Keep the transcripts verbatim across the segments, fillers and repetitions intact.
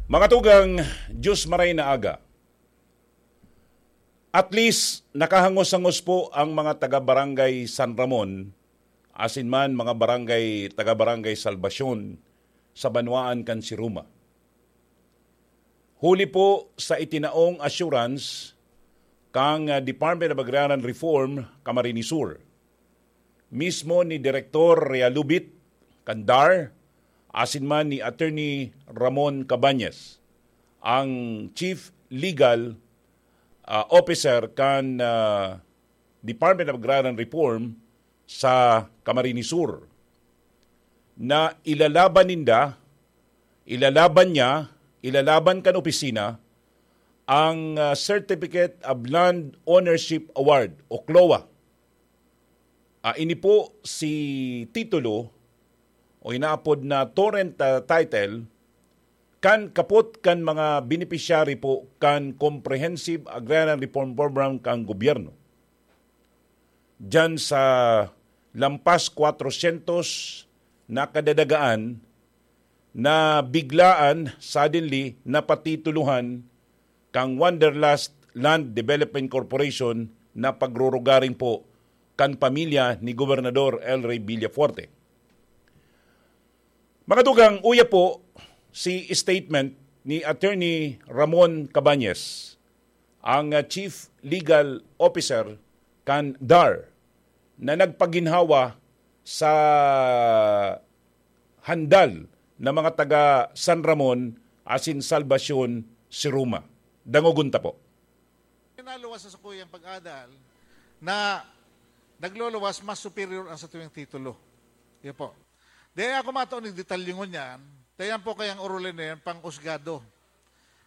Mga tugang, Diyos maray na aga. At least, nakahangos-hangos po ang mga taga-Barangay San Ramon, asin man mga barangay, taga-Barangay Salvacion sa banwaan kan Siruma. Huli po sa itinaong assurance kang, ah, Department of Agrarian Reform, Camarines Sur, mismo ni Direktor Realubit kan DAR, asin man ni Attorney Ramon Cabañas, ang Chief Legal, ah, Officer kan, ah, Department of Agrarian Reform sa Camarines Sur, na ilalaban ninda, ilalaban niya, ilalaban kan opisina ang, ah, Certificate of Land Ownership Award o CLOA. Ah, ini po si titulo o inaapod na torrent, ah, title kan kapot kan mga beneficiary po kan Comprehensive Agrarian Reform Program kan gobyerno. Diyan sa lampas kwatrosyentos na kadadagaan na biglaan, suddenly, napatitulohan kang Wanderlust Land Development Corporation na pagrurugaring po kan pamilya ni Gobernador El Rey Villafuerte. Mga tugang, uya po si statement ni Attorney Ramon Cabañas, ang, ah, Chief Legal Officer kan DAR, na nagpaginhawa sa handal na mga taga San Ramon asin Salvacion, Siruma. Dangogon ta po. Naluwas sa sakuyang pag-adal na nagluluwas mas superior ang satuyang titulo. Yun po. Di ako mataon ng detalye ngunyan, tayan po kayang orolin na yan, pang-usgado.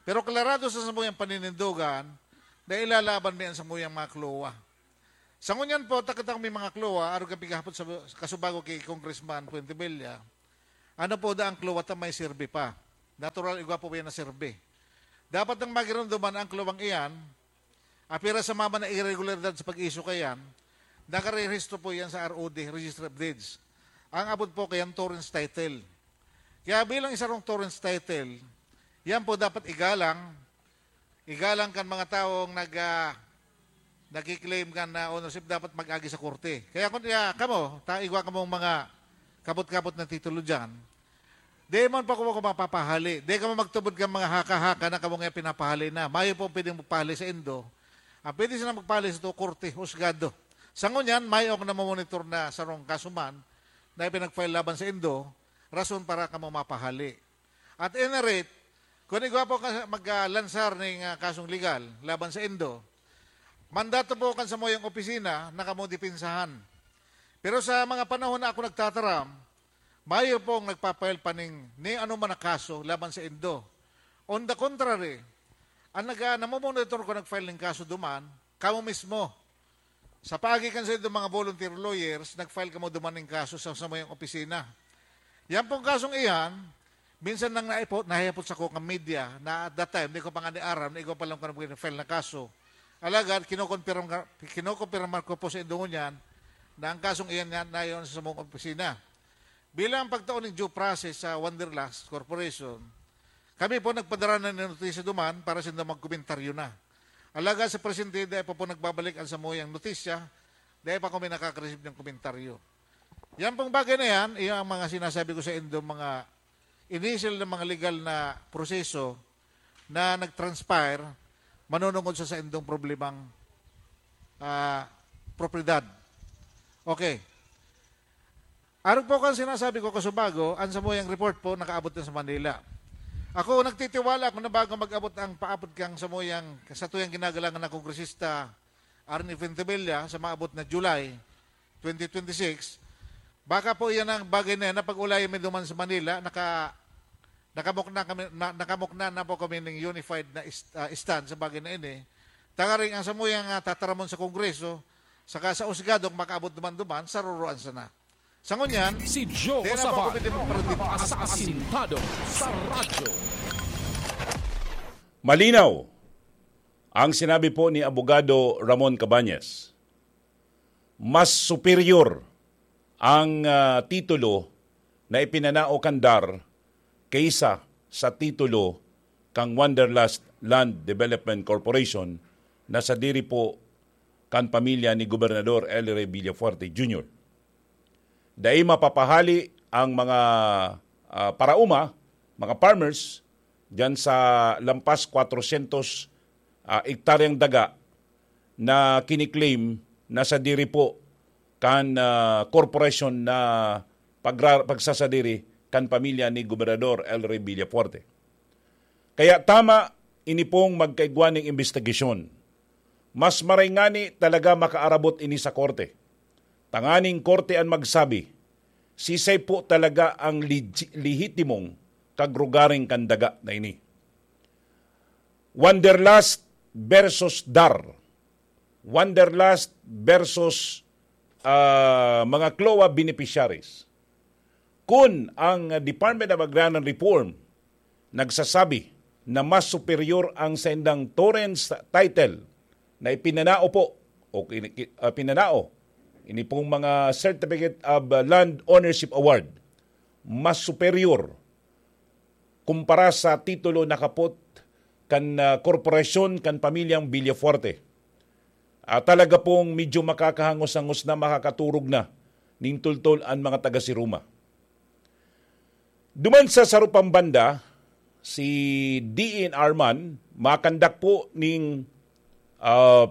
Pero klarado sa samuyang paninindogan na ilalaban mi ang samuyang mga CLOA. Sa ngunyan po, takatang may mga CLOA, arog ang pighapot sa kasubago ki Congressman Fuentebella, ano po da ang CLOA ta may survey pa? Natural, igwa po ba yan na survey? Dapat nang magirunduman ang CLOA-ng iyan, apira sa mama na irregularidad sa pag-issue kayan, nakarehistro po yan sa R O D, Registry of Deeds. Ang abot po kayan, torrens title. Kaya bilang isa rong torrens title, yan po dapat igalang, igalang kan mga taong nag, ah, nagki-claim kan, ah, ownership, dapat mag-agi sa korte. Kaya kung, ah, kamo, ta, igwa kamong mga kapot-kapot na titulo dyan, di man pa kamo mapapahali. Di kamo magtubod kan mga haka-haka na kamo nga pinapahali na. Mayo po pwedeng magpahali sa indo. Ang pwede sila magpahali sa to, korte, husgado. Sa ngunyan, mayo akong namomonitor na sarong kaso man na ipinag-file laban sa indo, rason para kamo mapahali. At any rate, kung igwa po ka mag-, ah, lansar ning, ah, kasong legal laban sa indo, mandato po kan samuyang opisina na kamo depensahan. Pero sa mga panahon na ako nagtataram, mayo pong nagpa-file pa ning, ning ano man na kaso laban sa indo. On the contrary, ang nag-, ah, namomonitor ko nag-file ning kaso duman, kamo mismo. Sa paagi kan saindong mga volunteer lawyers, nag-file kamo duman ning kaso sa samuyang opisina. Yan pong kasong iyan, minsan nang naipo-, nahiyapot sako kan media na at that time, di ko pa nga ni aram na igwa pa lang ko nag-file na kaso. Alagad, kinukonpirma, kinukonpirma ko po sa indo ngunyan na ang kasong iyan nga nayon sa samong opisina. Bilang pagtao ning due process sa Wanderlust Corporation, kami po nagpadara na nin notisya duman para sinda magkomentaryo na. Alagad sa presente, dai pa po nagbabalik ang samuyang notisya, dai pa kami nakaka-receive ng komentaryo. Yan pong bagay na yan, iyan ang mga sinasabi ko sa indo, mga initial na mga legal na proseso na nag-transpire manunungod sa saindong problemang, ah, propiedad. Okay. Arog po kan sinasabi ko kasubago, ang samuyang report po nakaabot na sa Manila. Ako, nagtitiwala ako na bago mag-abot ang paapod kang samuyang, satuyang ginagalangan na kongresista, Arnie Fuentebella, sa maabot na July twenty twenty-six, baka po iyan ang bagay na yan na pag-ulayan mi duman sa Manila, naka-, nakamukna kami, na, nakamukna na po kami ning unified na ist-, ah, stand sa bagay na ini. Tangaring ang samuyang, ah, tataramon sa Kongreso, saka sa husgado, makaabot duman-duman, saruroan sana. Sa ngunyan, Si Joe di na po Saval, ako pwede magparadit. Asasintado sa radyo. Malinaw ang sinabi po ni Abogado Ramon Cabañas. Mas superior ang, ah, titulo na ipinanao kan DAR kaysa sa titulo kan Wanderlust Land Development Corporation na sadiri po kan pamilya ni Gobernador El Rey Villafuerte Junior. Dai mapapahali ang mga, ah, paraoma, mga farmers, diyan sa lampas kwatrosyentos, ah, ektaryang daga na kiniklaim na sadiri po kan, ah, korporasyon na pagra-, pagsasadiri kan pamilya ni Gobernador El Rey Villafuerte. Kaya tama ini pong magkaigwa ning imbestigasyon. Mas maray ngani talaga makaarabot ini sa korte. Tanganing korte an magsabi, sisay po talaga ang legi-, lehitimong kagrugaring kan daga na ini. Wanderlust versus dar. Wanderlust versus, ah, mga CLOA beneficiaries. Kun ang Department of Agrarian Reform nagsasabi na mas superior ang saindang torrents title na ipinanao po o kini-, ki-, ah, pinanao, ini pong mga Certificate of, ah, Land Ownership Award, mas superior kumpara sa titulo na kapot kan, ah, korporasyon kan pamilyang Villafuerte. Ah, talaga pong medyo makakahangos-hangos na, makakaturog na nin tultol an mga taga-Siruma. Duman sa saro pang banda, si D N R man, makandak po ning, ah,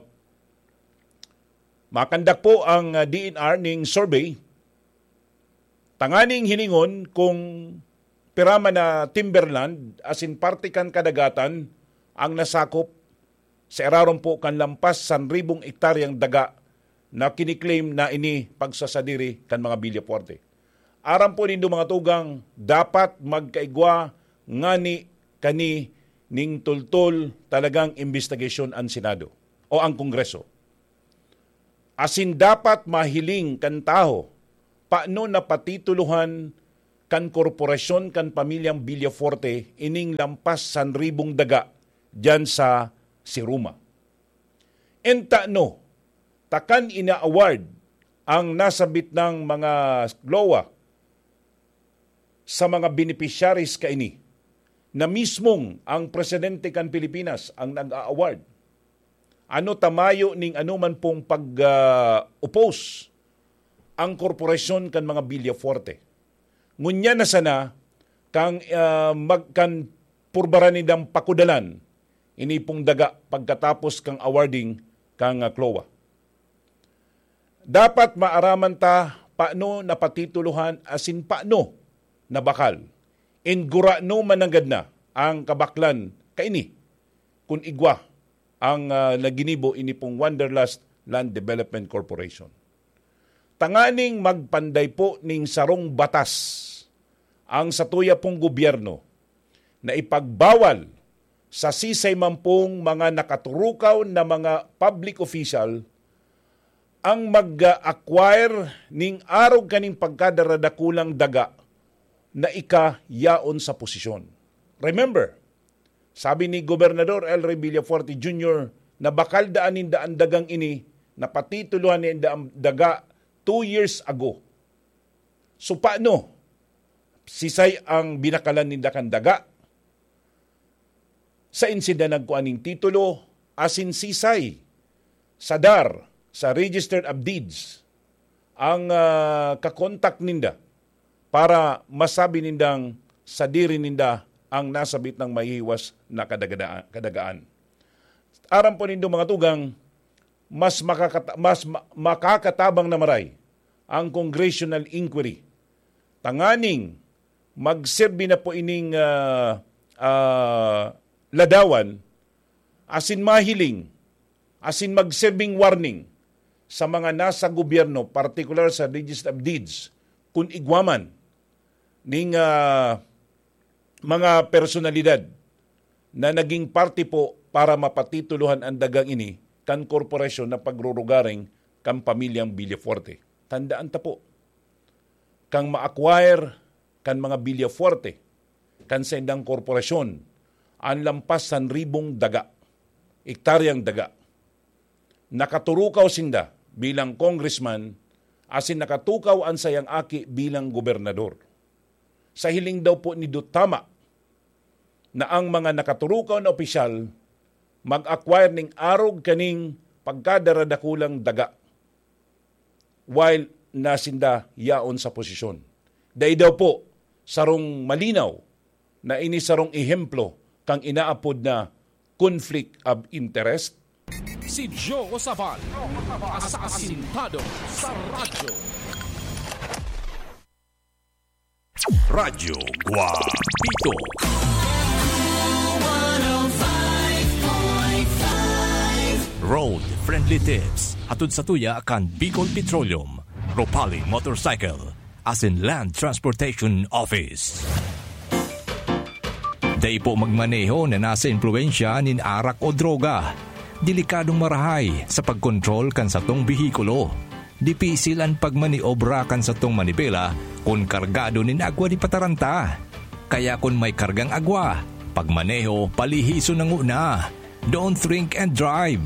makandak po ang, ah, D N R ning survey tanganing hilingon kung pira man na timberland asin parte kan kadagatan ang nasakop sa irarom po kan lampas san ribong ektaryang daga na kiniklaim na ini pagsasadiri kan mga Villafuerte. Aram po nindo, mga tugang, dapat magkaigwa ngani kani ning tultol talagang imbestigasyon an Senado o ang Kongreso. Asin dapat mahiling kan tawo, paano napatitulohan kan korporasyon kan pamilyang Villafuerte ining lampas san ribong daga diyan sa Siruma? Entano takan ina-award ang nasabit nang mga CLOA sa mga beneficiaries kaini na mismong ang presidente kan Pilipinas ang nag-a-award? Ano ta mayo ning anoman pong pag, ah, oppose ang korporasyon kan mga Villafuerte? Ngunyan na sana kang, ah, mag-, kan purbaran nindang pakudalan ini pong daga pagkatapos kang awarding kang, ah, CLOA. Dapat maaraman ta paano napatitulohan asin paano nabakal. Ingurano mananggad na ang kabaklan kaini kun igwa ang, ah, naginibo ini pong Wanderlust Land Development Corporation. Tanganing magpanday po ning sarong batas ang satuya pong gobyerno na ipagbawal sa sisay man pong mga nakaturukaw na mga public official ang mag-acquire ning arog kaning pagkadaradakulang daga na ika yaon sa posisyon. Remember, sabi ni Gobernador El Rey Villafuerte Junior na bakal daan ninda an dagang ini, napatitulohan ninda an daga two years ago. So, paano? Sisay ang binakalan ninda kan daga? Sain sinda nagkua ning titulo? Asin sisay sa dar, sa Register of Deeds, ang, ah, kakontak ninda para masabi nindang sadiri ninda ang nasabit nang mahihiwas na kadagada-, kadagaan? Aram po nindo, mga tugang, mas makakata-, mas ma-, makakatabang na maray ang congressional inquiry. Tanganing magserbi na po ining, ah, ah, ladawan asin mahiling asin magserbing warning sa mga nasa gobyerno, partikular sa Register of Deeds, kun igwa man ning, ah, mga personalidad na naging parte po para mapatitulohan an dagang ini kan korporasyon na pagrurugaring kan pamilyang Villafuerte. Tandaan ta po, kang ma-acquire kan mga Villafuerte, kan saindang korporasyon, an lampas san ribong daga, ektaryang daga. Nakaturukaw sinda bilang congressman, asin nakatukaw an sayang aki bilang gobernador. Sa hiling daw po ni Dutama, na ang mga nakaturukaw na opisyal mag-acquire ning arog kaning pagkadara-dakulang daga, while nasinda yaon sa posisyon. Dai daw po sarong malinaw na ini sarong ehemplo kan inaapod na conflict of interest? Si Joe Sabal, asasintado sa radyo. Radyo Guapito. Road Friendly Tips. Hatod sa tuya kan Bicol Petroleum, Ropali Motorcycle, asin Land Transportation Office. Dai po magmaneho na nasa impluwensya nin arak o droga. Delikadong marahay sa pagkontrol kan satong behikulo. Dipisil an pagmaniobra kan satong manibela kun kargado nin agwa di pataranta. Kaya kun may kargang agwa, pagmaneho palihison na nguna. Don't drink and drive.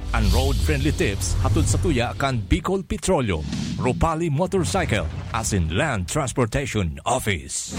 An Road Friendly Tips hatod sa tuya kan Bicol Petroleum, Ropali Motorcycle, asin Land Transportation Office.